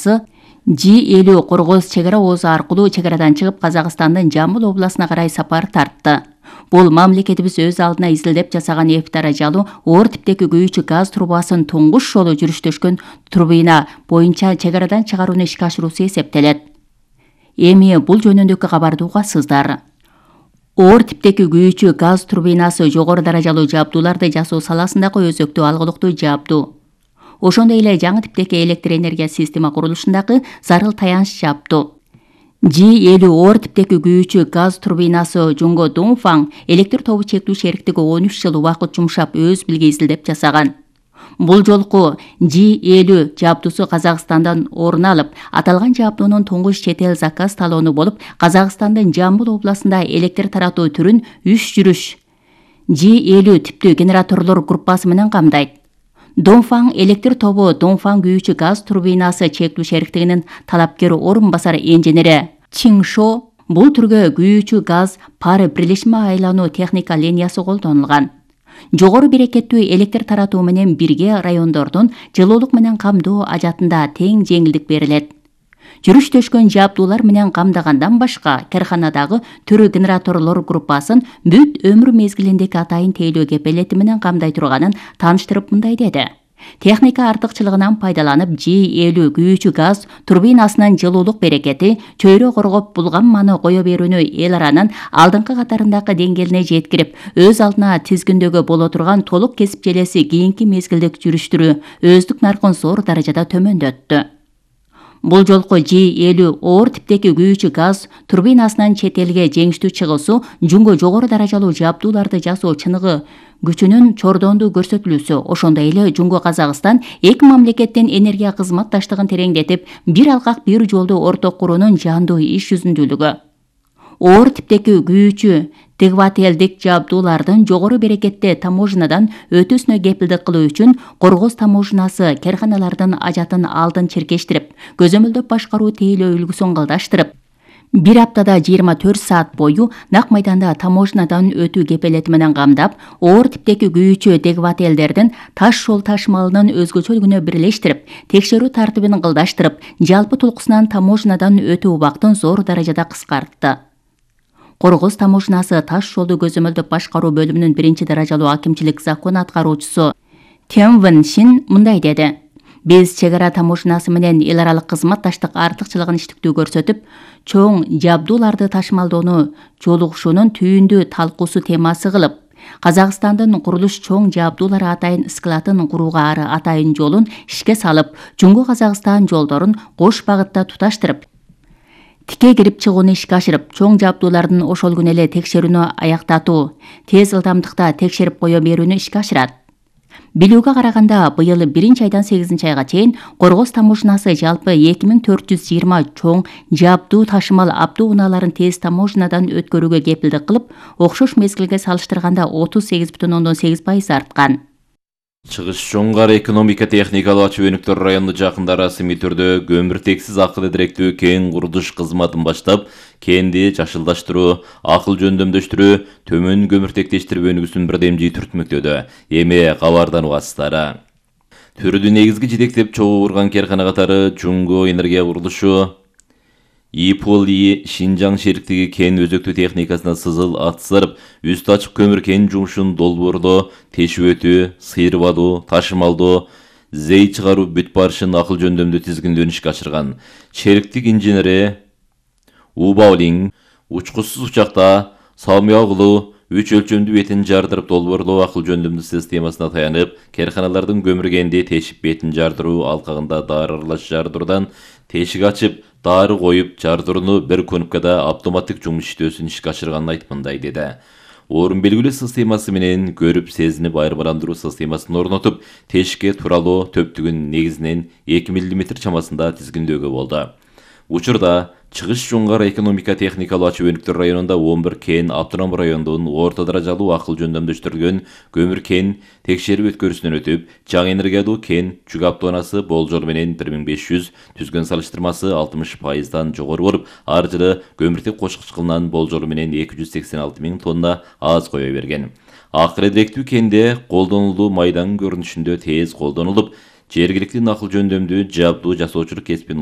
турбинасы G50 Коргоз чек ара оозу аркылуу чек арадан чыгып Казакстандын Жамбыл областына карай сапар тартты. Бул мамлекетибиз өз алдына изилдеп жасаган эп даражалуу оор типтеги күйүүчү газ трубасын туңгуш жолу жүрүштөшкөн турбина боюнча чек арадан чыгарууну ишке ашыруусу эсептелет. Эми бул жөнүндөгү кабарды угасыздар. Оор типтеги күйүүчү газ турбинасы жогору даражалуу жабдууларды жасоо саласындагы өзөктүү алгылыктуу жабдуу. Ошондой эле жаңы типтеги электр энергия система курулушундагы зарыл таяныч жабдуу. G50 оор типтеги күйүүчү газ турбинасы Жунго Дунфан электр тобу чектүү шериктиги 13 жыл убакыт жумшап өз билги изилдеп жасаган. Бул жолку G50 жабдуусу Казакстандан орун алып, аталган жабдуунун туңгуш чет эл заказ талоону болуп, Казакстандын Жамбыл областында электр таратуу түрүн 3 жүрүш G50 типтүү генераторлор группасы менен камдайт. Донфан электр тобу Донфан күйүүчү газ турбинасы чектүү шериктигинин талапкер орун басар инженери Чиншо бул түргө күйүүчү газ пар бирлешме айлануу техника линиясы колдонулган. Жогору берекеттүү электр таратуу менен бирге райондордун жылуулук менен камдоо ажатында тең жеңилдик берилет. Жүрүштөшкөн жабдуулар менен камдагандан башка карканадагы түрү генераторлор группасын бүт өмүр мезгилиндеги атайын тейлөө кепелети менен камдай турганын тааныштырып мындай деди. Техника артыкчылыгынан пайдаланып G50 күйүүчү газ турбинасынын жылуулук берекети чөйрө коргоп булган маны кое берүүнү эл аранын алдыңкы катарындагы деңгээлине жеткирип, өз алдына тизгиндөгү боло турган толук кесип желеси кийинки мезгилдик жүрүштүрүү өздүк наркын зор даражада төмөндөттү. Бул жолку G50 оор типтеги күйүүчү газ турбинасынын чет элге жеңиштүү чыгуусу Жунго жогору даражалуу жабдууларды жасоо чыныгы күчүнүн чордондуу көрсөтүлүүсү, ошондой эле Жунго Казакстан эки мамлекеттин энергия кызматташтыгын тереңдетип, бир алкак бир жолду орток куруунун жандуу иш жүзүндүүлүгү. Оор типтеги күйүүчү двигателдик жабдуулардын жогору берекетте таможнядан өтүүсүнө кепилдик кылуу үчүн Коргоз таможнасы карканалардын ажатын алдын чиркештирип, көзөмөлдөп башкаруу тейлөө үлгүсүн кылдаштырып, бир аптада 24 саат бою нак майданда таможнядан өтүү кепелети менен камдап, оор типтеги күйүүчү двигателдердин таш жол ташмалынын өзгөчөлүгүнө бирлештирип, текшерүү тартибин кылдаштырып, жалпы тулкусунан таможнядан өтүү убактын зор даражада кыскартты. Коргоз таможнасы таш жолду көзөмөлдөп башкаруу бөлүмүнүн 1-даражалуу акимчилик закон аткаруучусу Тенвен Шин мындай деди. Биз чек ара таможнасы менен эл аралык кызматташтык артыкчылыгын иштиктүү көрсөтүп, чоң жабдууларды ташмалдоону жолугушуунун түйүндүү талкуусу темасы кылып, Казакстандын курулуш чоң жабдуулары атайын складын курууга ары атайын жолун ишке салып, Жунго Казакстан жолдорун кош багытта туташтырып, тике кирип чыгууну ишке ашырып, чоң жабдуулардын ошол күнү эле текшерүүнү аяктатуу, тез ылдамдыкта текшерип кое берүүнү ишке ашырат. Билүүгө караганда, быйыл 1-айдан 8-айга чейин Коргоз таможнасы жалпы 2420 чоң жабдуу ташымал автоунааларын тез таможнядан өткөрүүгө кепилдик кылып, окшош мезгилге салыштырганда 38,8% арткан. Чыгыш Жоңгар экономика техникалуу ачуу өнүктөр району жакында расмий түрдө көмүртексиз акыл директүү кен курулуш кызматын баштап, кенди жашылдаштыруу, акыл жөндөмдөштүрүү, төмөн көмүртектештирүү өнүгүүсүн бирдемжий түртмөктөдө. Эми кабардан угасыздар. Түрдү негизги жетектеп чогуу урган каркана катары Жунго энергия курулушу, ИПОЛИ Шинжаң шериктиги кен өзөктүү техникасына сызыл ат сырып, үстү ачык көмүр кен жумушун долбоорлоо, тешип өтүү, сыйрып алуу, ташымалдоо, зей чыгаруу бүт барышын акыл жөндөмдүү тизгиндөөүн ишке ашырган. Шериктик инженери Убаулин учкучсуз учакта Самыягулу 3 өлчөмдүү бетин жардырып долбоорлоо акыл жөндөмдүү системасына таянып, карканалардын көмүр кенди тешип бетин жардыруу алкагында дары аралаш жардыруудан тешик ачып, дары коюп, жардырууну бир кнопкада автоматтык жумуш иштөөсүн ишке ашырганын айтып мындай деди. Орун белгилөө системасы менен көрүп сезинип айырмаландыруу системасын орнотуп, тешикке туралоо төптүгүн негизинен 2 мм чамасында тизгиндөөгө болду. Учурда Чыгыш Жоңгар экономика техникалуу ачуу өнүктөр районунда 11 кен автоном райондун орто даражалуу акыл жөндөмдөштүрүлгөн көмүр кен текшерип өткөрүүсүнөн өтүп, жаңы энергиялуу кен жүк автоунасы болжол менен 1500, түзгөн салыштырмасы 60%дан жогору болуп, ар жылы көмүртек кошкуч кылынан болжол менен 286 000 тонна аз кое берген. Акыл директүү кенде колдонулуу майдан көрүнүшүндө тез колдонулуп, жергиликтүү акыл жөндөмдүү жабдуу жасоочулук кесипин